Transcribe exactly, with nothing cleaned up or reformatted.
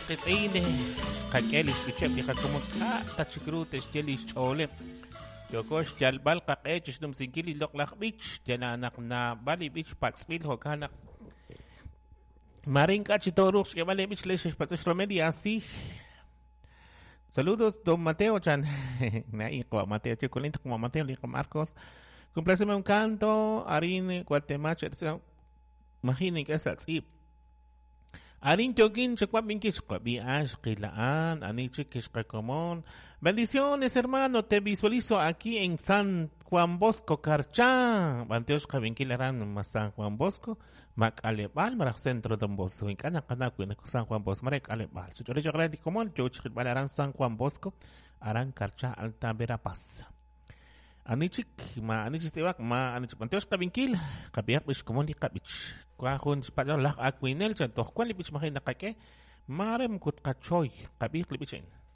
qiitz'in xqak'e li xb'icheb' li qakomon k'a' ta chik ru te'xye li xch'ooleb' yooko xyalb'al qaq'e chi xnumsinkil li loq'laj b'ich yala naq naab'al li b'ich patz'b'il jo'kan naq mare ink'a' chi tooruuq xk'eeb'al li b'ich le xe'xpatz'o xRomelia así. Saludos, don Mateo chan. Mateo Chicolín, como Mateo, hijo Marcos. Compláceme un canto, Arin, Guatemala, imaginen que es así. Arin yokin, Bendiciones, hermano, te visualizo aquí en San Juan Bosco, Carchá. Banteos Kabinkil San Juan Bosco, Macalebal, Maraj Centro Don Bosco. En Cana, San Juan Bosco, Marek Alebal. Aran San Juan Bosco, Aran Carchá, Alta Verapaz. Anichik, ma anichik tibak, ma anichik Banteos Kabinkil, Kabiak Bishkomon Kabich. Kwajun Spanyol Laj Akwinel, Chantoh, Kuali Bich Mahina Kake, Marem Kutkachoy, Kabik Libichin.